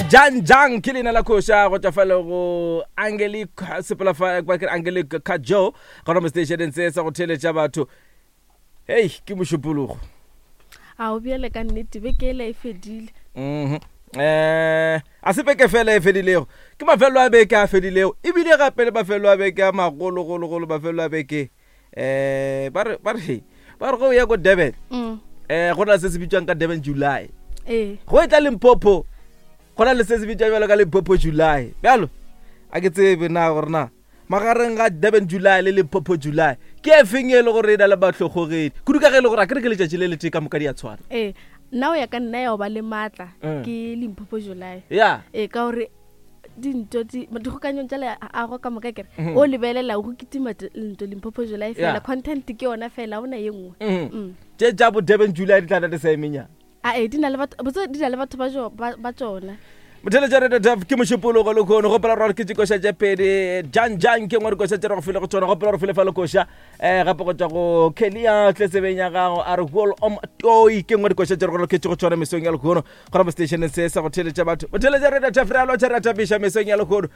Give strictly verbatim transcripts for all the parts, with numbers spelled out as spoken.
Jang Jang ke leina la koša go tšwa fale go Angelique sepela fa ba ke Angelique Kajo gona mo stationeng se sa go theeletša batho. Hei, ke mošupologo. A o bjale ka nnete beke ela e fedile. Mhm. Eh, a se beke fela e fedilego. Ke mafelo a beke a fedilego. Ebile gape le mafelo a beke a magologologolo mafelo a beke. Eh, ba re ba re ba re go ya ko Durban. Mm. Eh, go na le se se bitswang ka Durban July. Ee. Go etla Limpopo. Go na le se se bitswang bjalo ka Limpopo July. Bjalo a ke tsebe na gore na magareng ga Durban July le Limpopo July ke e feng e le gore e na le mahlogogedi kudu ka ge e le gore a ke re ke letšatši le letee ka moka di a tshwana. Ee, nna o ya ka nna ya go ba le maatla Mm. ke Limpopo July. Ya. Ee, ka gore dinto di dikgokanyong tša leago ka moka kere o lebelela go kitima t- nto Limpopo July fela Yeah. content ke yona fela ona ye nngwe. Mhm. Mm. Tše tša bo Durban July di tla na di sa emenyana. A ee, di na le batho botse di na le batho ba jo ba ba tšona. Motheletša Radio Taf ke mošupologo le khono gopola gore ke tšikoša tše pedi jang jang ke ngwe dikoša tše re go file go tšona gopola gore file fa le koša um gape go tšwa go Kelia tletsebeng ya gago a re gol om toi ke ngwe dikoša tše re go loketše go tšona mesong ya lekhono gona mo stationeng se sa go theletša batho. Motheletša Radio Taf re a lotšha re a thapiša mesong ya lekhono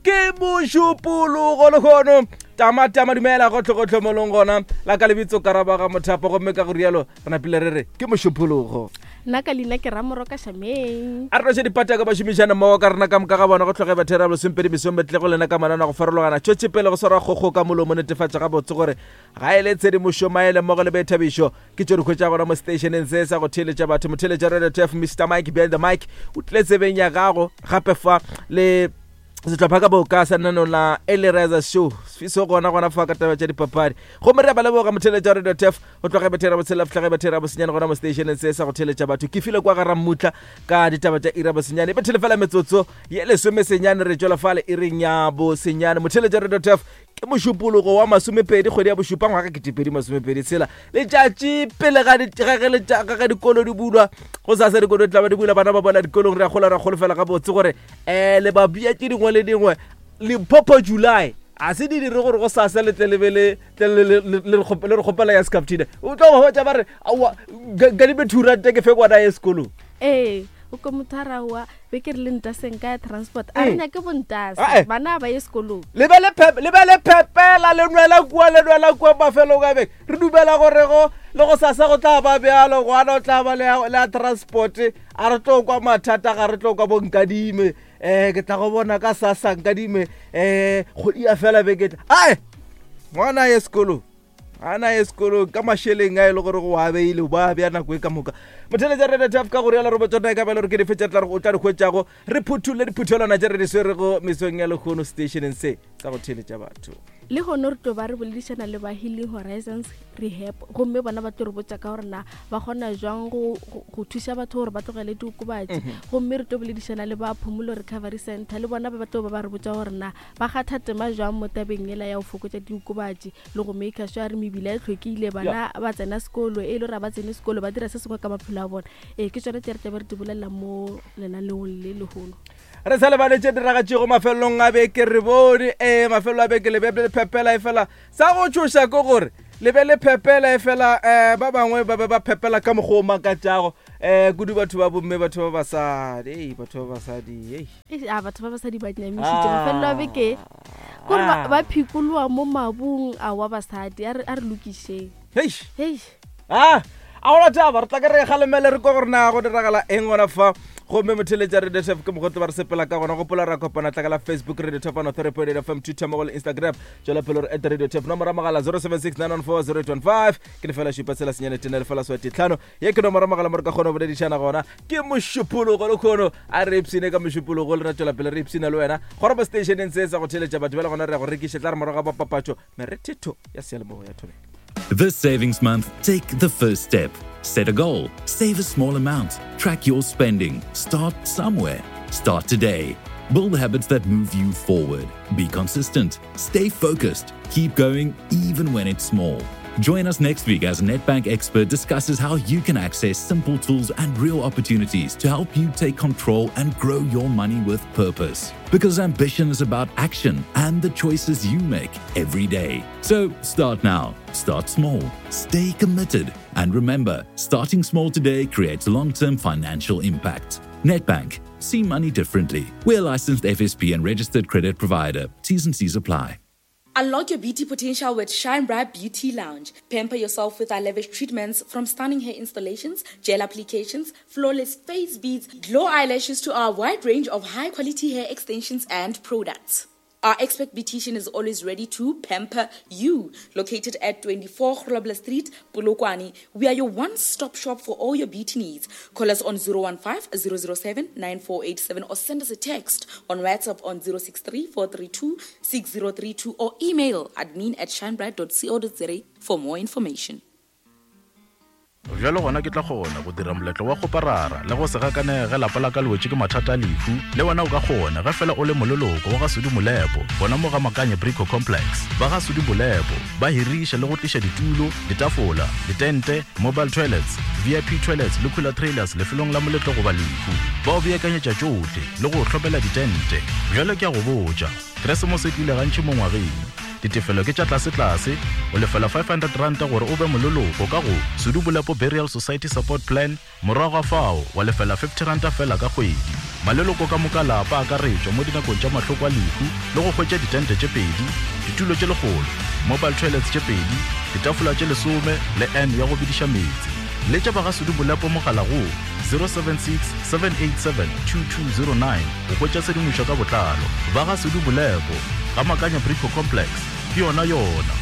ke mošupologo lekhono tama tama dumela gotlhe-gotlhe mo leng gona la ka lebitso karabaga mothapo gomme ka go rialo re napile re re ke mošupologo. Nna ka leina ke Ramoroka Shameng. A re noše dipataka ba šomišana mmogo ka rena ka moka ga bona go tlhoge bathera lesomepedi mesong betle go lena ka manana go farologana tšwetše pele go swara kgokgo ka molomo netefatša gabotse gore ga e le tshedimošo maele mmogo le boithabišo ke tšo di hwetša gona mo stationeng se sa go theeletša batho. Motheeletša Radio Taf Mister Mike behind the mic o tlile tsebeng ya gago gape fa le sehlopha ka boka sa lenaneo la Early Show fiso gona gona fa ka taba tša dipapadi gomme re a ba leboga motheeletša Radio Taf go tloga bethera botshela fitlha bethera bosenyane gona mo stationeng se sa go theeletša batho. Ke file kwa gara mmutla ka ditaba tša ira bosenyane bethele fela metsotso ye lesome senyane re tšwela fale iring ya bosenyane. Motheeletša Radio Taf ke mošupologo wa masomepedi kgwedi ya bošupa ngwaga ketepedi masomepedi tshela letšatši pele ga ga ga dikolo di bulwa go sasa dikolo di tla ba di bula bana ba bona dikolong re a gola ra golofela gabotse gore um le ba bia tše dingwe le dingwe Limpopo July a se di dire gore go sasa le tle le be le tle le le re kgopela ya Scaptina o tlo ba botša ba re aowa kadime two rand ke fe ngwana ye sekolong. Ee, o ko motho a raowa be ke re le ntaseng ka ya transport a re nyake bontase bana ba ye sekolong le be le le be le phepela le nwela kua le nwela kua mafelong a beke re dumela gore go le go sasa go tla ba bjalo ngwana o tla ba le ya transport a re tlo kwa mathata ga re tlo kwa bonkadime eh ke tla go bona ka sasa nkadime eh kgwedi ya fela beke tla ae ngwana ye sekolong ana ye sekolong ka mašeleng a e le gore go a beile ba bja nako e ka moka. Motheeletša Radio Taf ka go rialo re botsona e ka ba le gore ke dife tša tla o tla di hwetšago re phuthulle diphuthelwana tše re di swerego mesong ya lekgono stationeng se sa go theeletša batho. Le gone re tlo ba re boledišana le ba Healing Horizons Rehab gomme bona ba tlo re botša ka gore na ba kgona jwang go go thuša batho gore ba tlogele diokobatši gomme re tlo boledišana le ba Phumulo Recovery Center le bona ba ba tlo ba ba re botša gore na ba kgatha tema jwang mo tabeng ela ya go fokotša diokobatši le go make sure re mebila e hlwekile bana ba tsena sekolo e le gore ba tsene sekolo ba dira se sengwe ka maphelo a bona. Ee, ke tsone tše re tlabe re di bolelela mo lenaneong le lehono. Re sa lebale tše diragatšego mafelong a beke re bone ee mafelo a beke le be le phepela e fela sa go tšhoša ke gore le be le phepela e fela um ba bangwe ba be ba phepela ka mokgwa o makatšago um kudu batho ba bomme batho ba basadi ei batho ba basadi ei a batho ba basadi ba nyamišitše mafelelo a beke kore ba phikoloa mo mabung a wa basadi a re lokišeng. Hei hei ah a gona taba re tla ke re kgalemele re kwa gore na go diragala eng gona fa gomme motheeletša Radio Taf ke mokgotlo ba re sepela ka gona gopola ra kopana tla ka la Facebook Radio Taf one three point eight F M Twitter mmogo le Instagram tšwela pele gore at Radio Taf nomoro ya mogala zero seven six nine one four zero eight one five ke lefela šupa tshela senyane tene lefela swati tlhano ye ke nomoro ya mogala mo re ka kgona go boledišana gona ke mošupologo le kgono a re ipshine ka mošupologo le ra tšwela pele re ipshina le wena gore mo stationeng se sa go theeletša batho ba le gona re ya go rekiša tla re morago ga papatšo merethetho ya seyalemoya ya Thobela. This savings month, take the first step. Set a goal, save a small amount, track your spending, start somewhere. Start today. Build habits that move you forward. Be consistent, stay focused, keep going even when it's small. Join us next week as a Nedbank expert discusses how you can access simple tools and real opportunities to help you take control and grow your money with purpose. Because ambition is about action and the choices you make every day. So start now, start small, stay committed, and remember, starting small today creates long-term financial impact. Nedbank, See money differently. We're a licensed F S P and registered credit provider. T's and C's apply. Unlock your beauty potential with Shine Bright Beauty Lounge. Pamper yourself with our lavish treatments, from stunning hair installations, gel applications, flawless face beads, glow eyelashes to our wide range of high-quality hair extensions and products. Our expert beautician is always ready to pamper you. Located at twenty-four Grobler Street, Polokwane, we are your one-stop shop for all your beauty needs. Call us on zero one five, zero zero seven, nine four eight seven or send us a text on WhatsApp on zero six three, four three two, six zero three two or email admin at shinebright dot co dot za for more information. Bjalo gona ke tla kgona go dira moletlo wa go parara le go se gakane ge lapa la ka le wetše ke mathata a lehu. Le wena o ka kgona ge fela o le moleloko wa ga Sudi Molepo, gona mo ga Makanye Brico Complex. Ba ga Sudi Molepo ba hiriša le go tliša ditulo, ditafola, ditente, mobile toilets, V I P toilets le cooler trailers lefelong la moletlo goba lehu. Ba o beakanyetša tšohle le go hlopela ditente. Bjalo ke a go botša, Keresemose e tlile gantši mo ngwageng. Ditefelo ke tša tlase-tlase, o lefela five hundred rand gore o be moleloko ka go Sudi Molepo Burial Society Support Plan, morago ga fao wa lefela fifty rand fela ka kgwedi. Maleloko ka moka lapa a akaretšwa mo dinakong tša mahloko a lehu le go hwetša ditente tše pedi, ditulo tše lekgolo, mobile toilets tše pedi, ditafola tše lesome le N ya go bediša meetse. Letša ba ga Sudi Molepo mogala go zero seven six, seven eight seven, two two zero nine go hwetša tshedimošo ka botlalo. Ba ga Sudi Molepo, ga Makanya Brico Complex, ke yona yona.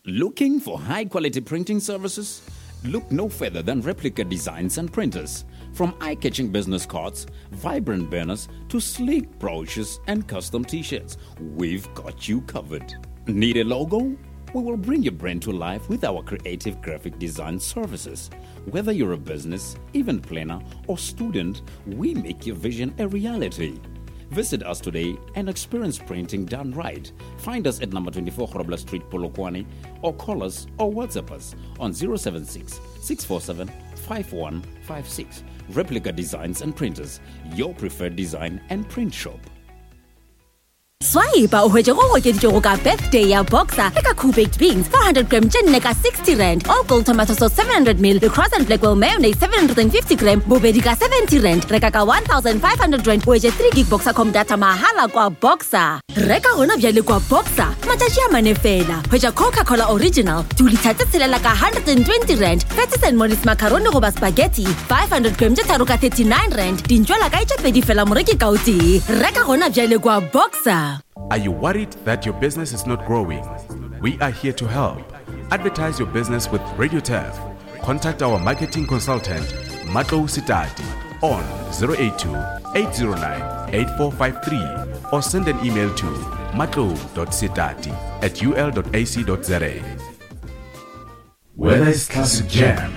Looking for high-quality printing services? Look no further than Replica Designs and Printers. From eye-catching business cards, vibrant banners, to sleek brochures and custom t-shirts, we've got you covered. Need a logo? We will bring your brand to life with our creative graphic design services. Whether you're a business, event planner, or student, we make your vision a reality. Visit us today and experience printing done right. Find us at number twenty-four Grobler Street, Polokwane, or call us or WhatsApp us on zero seven six, six four seven, five one five six. Replica Designs and Printers, your preferred design and print shop. Swipe o hwetše go okeditšego ka birthday ya Boxer le ka Cool Baked Beans four hundred gram tše nne ka sixty rand, all gold tomato sauce seven hundred mil le Cross and Blackwell mayonnaise seven hundred and fifty gram bobedi ka seventy rand. Reka ka one thousand five hundred rand o hwetše three gig Boxercom data mahala kwa Boxer. Reka gona bjale kwa Boxer matšatši a mane fela. Hwetša Coca-Cola original two litre tše tshelela ka hundred and twenty rand, Patties and Molly's macaroni goba spaghetti five hundred gram tše tharo ka thirty-nine rand, dintšwela ka tše pedi fela moreki ka o tee. Reka gona bjale kwa Boxer. Are you worried that your business is not growing? We are here to help. Advertise your business with Radio Turf. Contact our marketing consultant, Matlo Sitati, on zero eight two, eight zero nine, eight four five three or send an email to matlo dot sitati at u l dot a c dot z a. Whether it's classic jam,